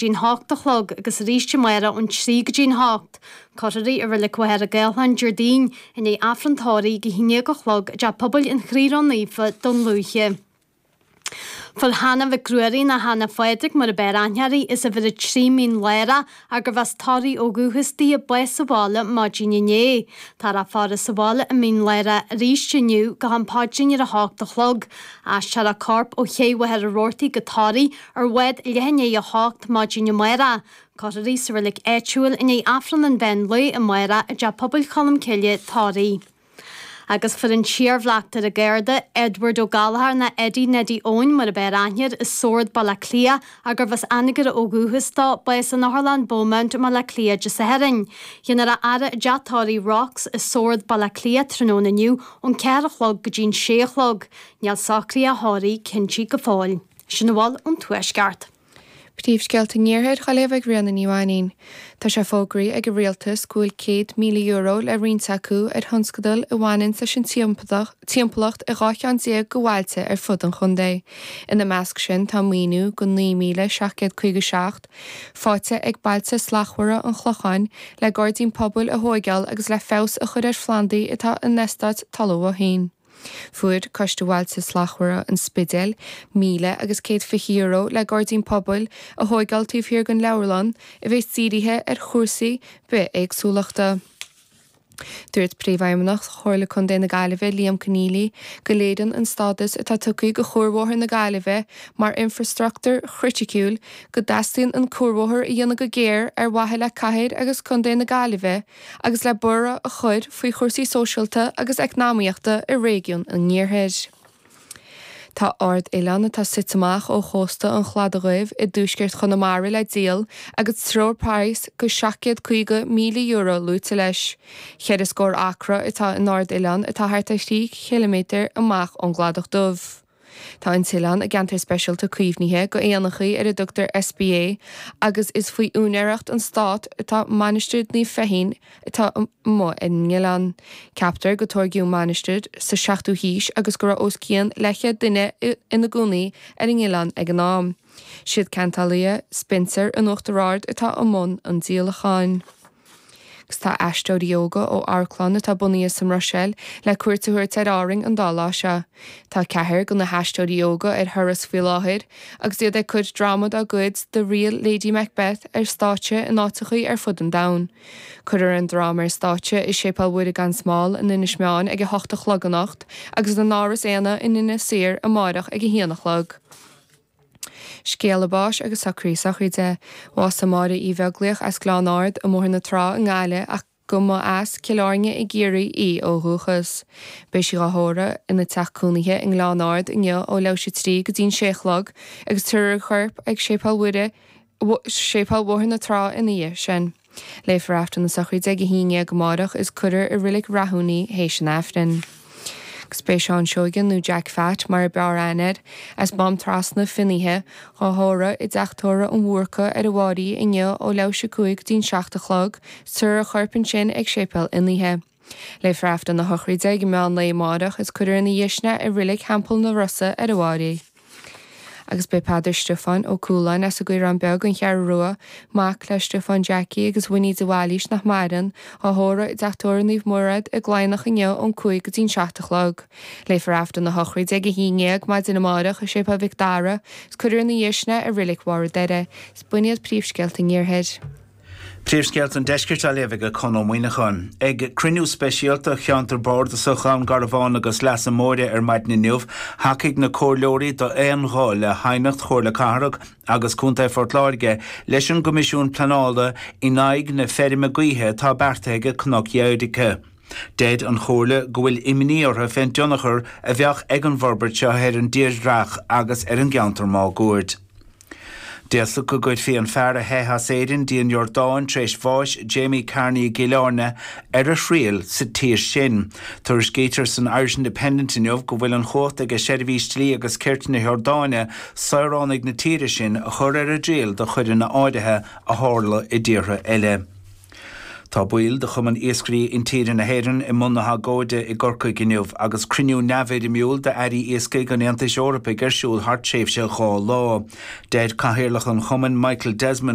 dtí'n hocht a chlog agus arís amárach ón 3 go dtí'n hocht. Cuirfear í i Reilig Mhachaire Gathlán Déardaoin i ndiaidh Aifreann tórraimh ag a haon déag a chlog i dTeach Pobail an Chroí Ró-Naofa, Dún Lúiche. Fuair Hannah Mhic Ruairí nó Hannah Phádraig mar a b'fhearr aithne uirthi, as uimhir 3 Mín Lárach, gurbh as Toraigh ó dhúchas di, bás sa bhaile maidin inné. Táthar á faire sa bhaile i Mín Lárach arís inniu go ham paidrín ar a hocht a chlog. Aistreofar a corp ó Ché Mhachaire Rabhartaigh go Toraigh ar bhád leath i ndiaidh 8 maidin amárach. Cuirfear í sa reilig áitiúil i ndiaidh Aifreann an mheán lae amárach i dTeach Pobail Cholmcille, Toraigh. Agus fuair an t-iarbhleachtaire Garda, Edward Ó Gallchóir nó Eddie Neddie Eoin mar a b'fhearr aithne air, as Sord, Baile Átha Cliath, gurbh as Anagaire ó dhúchas dó, bás in Otharlann Beaumont i mBaile Átha Cliath Dé Sathairn. Dhéanfar a fhaire i dTeach Tórraimh Rocks i Sord, Baile Átha Cliath tráthnóna inniu ón 4 a chlog go dtí'n 6 a chlog. Níl socruithe tórraimh cinntí go fóill. Sin a bhfuil ón Tuaisceart. Príomhscéalta an Iarthair á léamh ag Ríona Ní Mhainín. Tá sé fógraithe ag an Rialtas go bhfuil €100,000 le roinnt acu ar thionscadail a bhaineanns leis an timpeallacht i 12 cheann de bhailte ar fud an chontae. Ina measc sin tá maoiniú go 9,757 faighte ag Bailte Slachtmhara an Chlocháin le gairdín pobail a thóigeáil agus le feabhas a chur ar phlandaí atá in eastát Talamh Bhoithín. Fuair Coiste Bhailte Slachtmhara an Spidéil €1,120 le gairdín pobail a thóigeáil taobh thiar den leabharlann a bheas dírithe ar chúrsaí bithéagsúlachta. Dúirt Príomhfheidhmeannach Chomhairle Contae na Gaillimhe, Liam Conneely, go léiríonn an stádas atá tugtha do Chuarbhóthar na Gaillimhe mar infreastruchtúr chriticiúil go dteastaíonn an cuarbhóthar a dhéanamh go géar ar mhaithe le cathair agus contae na Gaillimhe agus le borradh a chur faoi chúrsaí sóisialta agus eacnamaíochta i réigiún an Iarthair. Tá ard-oileán atá suite amach ó chósta an Chladaigh Dhuibh i dtuaisceart Chonamara le díol agus treoirphraghas go €750,000 luaite leis. Cheithre scór acra atá in ard-oileán atá thart ar thrí chiliméadar amach ón gCladach Dubh. Tá an t-oileán i gceantar speisialta caomhnaithe go éanachaí ar a dtugtar SPA agus is faoi úinéireacht an Stát atá Mainistir Naomh Feichín atá amuigh ar an oileán. Ceaptar go tóigeadh an mhainistir sa 7ú haois agus go raibh os cionn leathchéad duine ina gcónaí ar an oileán ag an am. Siad ceantálaithe Spencer in Uachtar Ard atá i mbun an díolacháin. Agus tá aisteoirí óga ó amharclann atá bunaithe sa mBruiséil le cuairt a thabhairt ar Árainn an dá lá seo. Tá ceathrar de na haisteoirí óga ar thuras faoi láthair agus iad ag cur dráma dá gcuid The Real Lady Macbeth ar stáitse in áiteachaí ar fud an domhain. Cuirfear an dráma ar stáitse i Séipéal Mhuire gan Smál in Inis Meáin ag a hocht a chlog anocht agus in Áras Éanna in Inis Oírr amárach ag a haon a chlog. Scéala báis agus socruithe sochraide. Bhásaigh Máire Uí Bheaglaoich as Gleann Ard i mBóthar na Trá i nGaillimh ach go mba as Cill Airne i gCiarraí í ó dhúchas. Beidh sí dhá thórramh ina teach cónaithe i nGleann Ard inniu ó leathuair tar éis a 3 go dtí'n 6 a chlog agus tabharfar a corp ag Séipéal Mhuire, Séipéal Bhóthar na Trá ina dhiaidh sin. Léifear Aifreann na sochraide ag 11 amárach is cuirfear i Reilig Rathún í théis an Aifrinn. Agus beidh Seán Seoige nó Jack Phat mar a b'fhearr aithne air, as Mám Trasna, Finnéithe, dhá thórramh i dTeach Tórraimh an Bhúrca ar an bhFáirí inniu ó leathuair tar éis a 5 go dtí'n 7 a chlog, is tabharfar a chorp ansin ag Séipéal Fhinnéithe. Léifear Aifreann na sochraide ag meán lae amárach is cuirfear ina dhiaidh sin é i Reilig Theampall na Rosa ar an bhFáirí. Agus b'é Peadar Stiofán Ó Cualáin as an gCaorán Beag, An Cheathrú Rua, mac le Stiofán Jackie agus Winnie de Bhailís nach maireann, á thórramh i dTeach Tórraimh Naomh Mairéad i gCladhnach inniu ón 5 go dtí'n 7 a chlog. Léifear Aifreann na sochraide ag 11 maidin amárach i Séipéal Mhic Dara is cuirfear ina dhiaidh sin é i Reilig Bharr an Doire. Is b'in iad príomhscéalta an Iarthair. Príomhscéalta an Deiscirt á léamh ag Con Ó Muíneacháin. Ag cruinniú speisialta Cheantar Bardasach Dhún Garbhán agus Leasa Móire ar maidin inniu, thacaigh na comhairleoirí d'aon ghuth le haighneacht Chomhairle Cathrach agus Contae Phort Láirge leis an gCoimisiún Pleanála in aghaidh na feirme gaoithe atá beartaithe ag Cnoc Dheirce. Deir an Chomhairle go bhfuil imní orthu fén dtionchar a bheadh ag an bhforbairt seo ar an dtírdhreach agus ar an gceantar máguaird. D'fhéadfadh go gcuirfí an fear a theith as Éirinn dtí an Iordáin tar éis bháis Jamie Carney i gCill Airne ar a thriail sa tír sin. Tuairiscítear san Irish Independent inniu go bhfuil an chumhacht ag Seirbhís Dlí agus Cirt na hIordáine saoránaigh na tíre sin a chur ar a dtriail do choireanna áirithe a tharla i dtíortha eile. Tá baill de Chumann Iascairí Intíre na hÉireann i mbun na hagóide i gCorcaigh inniu agus cruinniú neamhfhoirmiúil d'Airí Iascaigh an Aontais Eorpaigh ar siúl thar tréimhse 2 lá. Deir Cathaoirleach an Chumainn, Michael Desmond.